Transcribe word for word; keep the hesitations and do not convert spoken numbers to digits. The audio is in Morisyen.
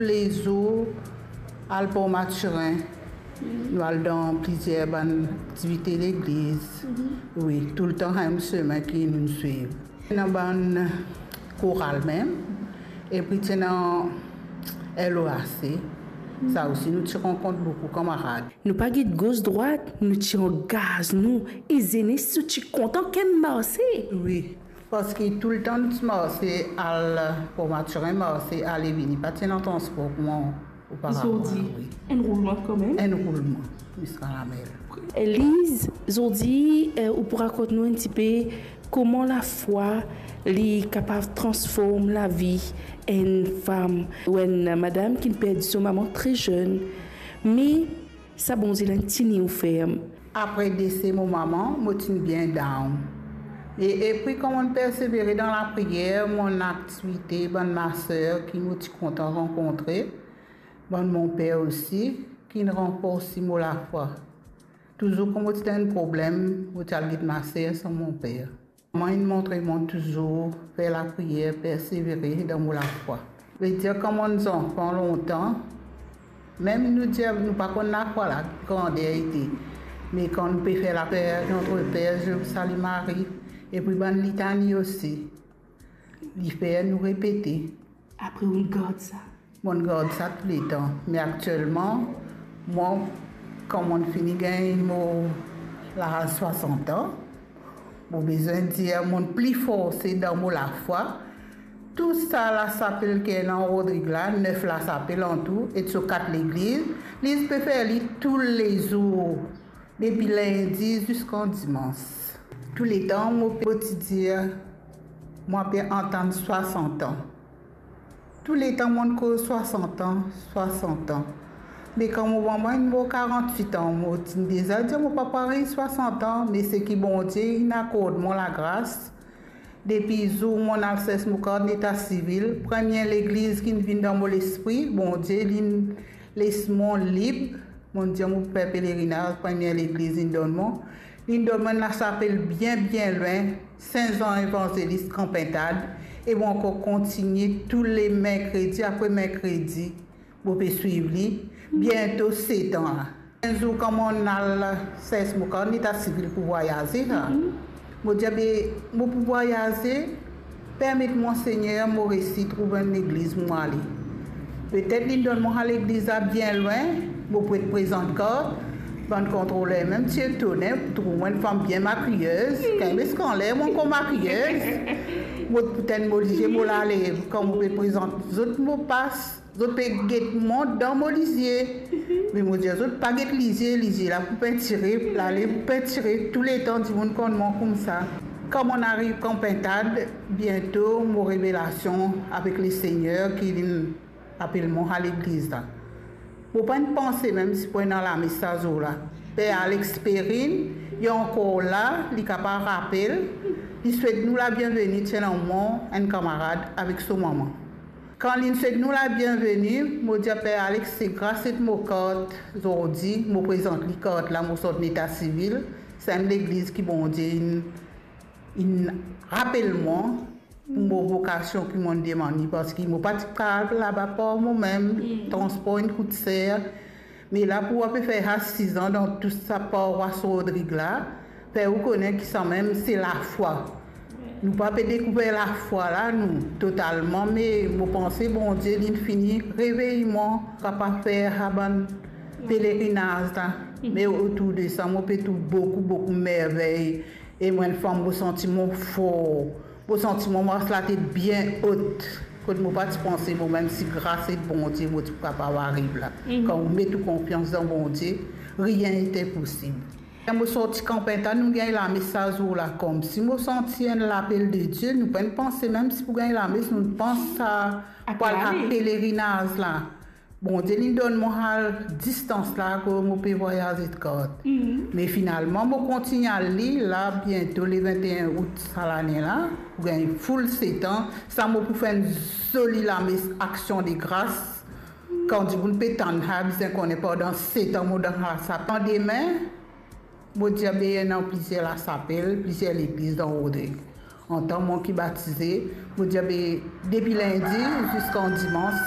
Lezour, al Port Mathurin, nou al dan plizier bann aktivite legliz. Wi, toultan sa mem semin ki nou swiv. Ena bann koral mem, epi ti ena L O A C. Sa osi, nou ti rankont boukou kanmarad. Nou pa get gos drwat, nou ti angaz nou, e zenes ti kontan ker marse. Wi, parski toultan nou ti marse al Port Mathurin, marse ale vini, pa ti ena transpor kouma oparava. Zordi, wi. Enn roulman kanmem. Enn roulman, ziska lamer. Liz, zordi, eh, ou pou rakont nou enn tipe kouma lafwa li kapav transform lavi enn fam ou enn madam ki perdi so mama tre zenn. Me sa Bondie la inn tini ou ferm. Apre dese mo mama, mo ti bien down. E, epi kan mo persevere dan lapriyer, mo aktivite, bann maser ki mo ti kontan rankontre, bann monper osi, ki ranforsi mo lafwa. Touzour kan mo ti dan enn problem, mo ti al get maser san monper. Mama inn montre mwa touzour fer lapriyer, persevere dan mo lafwa. Vedir kan mo zanfan lontan, mem nou dir nou pa konn lafwa la, grander ete. Me kan nou pe fer lapriyer, Notre Père, Je vous salue Marie, epi bann litani osi, li fer nou repete. Apre ou gard sa? Mo gard sa touletan. Me aktielman, mwa, kan mo fini gagn mo laz swasant an, mo bizin dir mo pli forse dan mo lafwa. Tou sa lasapel ki ena Rodrig la, nef lasapel antou, e so kat legliz, li pe fer li toulezour, depi lindi ziska dimans. Touletan mo pe ti dir, mo pe atann swasant an. Touletan mo koz swasant an, swasant an. Me kan mo mama inn mor karant-wit an, mo ti deza dir mo pa pou ariv swasant an, me seki Bondie inn akord mwa lagras. Depi zour mo al sers mo kart leta sivil, premie legliz ki vinn dan mo lespri, Bondie li les mwa lib, mo dir mo pou fer pelerinaz, premie legliz li donn mwa. Li donn mwa enn lasapel bien, bien lwin, Sen Zan Evanzelis, Gran Pintad, e mo ankor kontigne tou le merkredi apre merkredi, mo pe swiv li, biento set an la. Enn zour, kan mo al sers mo kart leta sivil pou vwayaze la, mo dir, be, mo pou vwayaze, permet mwa, Segner, mo resi trouv enn legliz pou mo ale. Petet li donn mwa sa legliz la bien lwin, mo pou et prezant kart, bann kontroler mem ti etone, trouv mwa enn fam bien makiyez, kan mo skann ler, mo ankor makiyez. Mo pou tann mo lizie, mo lale, kan mo pe prezant zot mo pas, zot pe get mwa dan mo lizie. Me mo dir zot, pa get lizie, lizie la pou pintire, lale pou pintire, touletan dimoun konn mwa koumsa. Kan mo ariv Gran Pintad, biento mo revelasion avek Lesegner ki linn apel mwa sa legliz la. Mo pa'nn panse mem si pou ena lames sa zour la. Per Alex Perrin, li ankor la, li kapav rapel, li swet nou labienveni, ti ena mwa, enn kanmarad avek so mama. Kan linn swet nou labienveni, mo dir Per Alex, se gras et mo kart zordi, mo prezant li kart la, mo sort leta sivil, sa enn legliz ki Bondie inn, inn rapel mwa pou mo vokasion ki mo demann li, parski mo pa ti kapav al laba par momem, transpor inn kout ser. Me la pou ape fer sa sizan dan tou sa parwas Rodrig la, fer ou kone ki samem se lafwa. Nou pa pe dekouver lafwa la, nou, totalman, me mo panse Bondie linn fini revey mwa, kapav fer sa bann pelerinaz la. Me otour de sa, mo pe trouv boukou, boukou mervey. E mwa, enn fwa, mo santi mo for. Mo santi mo mars latet bien ot. Kot mo pa ti panse momem si gras et Bondie, mo ti pou kapav ariv la. Kan ou met ou konfians dan Bondie, rien est impossible. Mo sorti Gran Pintad, nou gagn lames sa zour la, koumsi mo santi enn lapel de Die, nou pa'nn panse mem si pou gagn lames, nou pans sa pou al pelerinaz la. Bondie linn donn mwa sa distans la kot mo pe vwayaze kart. Me finalman, mo kontigne al li la, biento le vingt et un out sa lane la, pou gagn full set an. Sa mo pou fer enn zoli lames aksion de gras. Kan dimoun pe tann sa, bizin kone pandan set an mo dan sa. Landime, mo dir be ena plizier lasapel, plizier legliz dan Rodrig. Antan mwa ki batize, mo dir be depi lindi ziska dimans,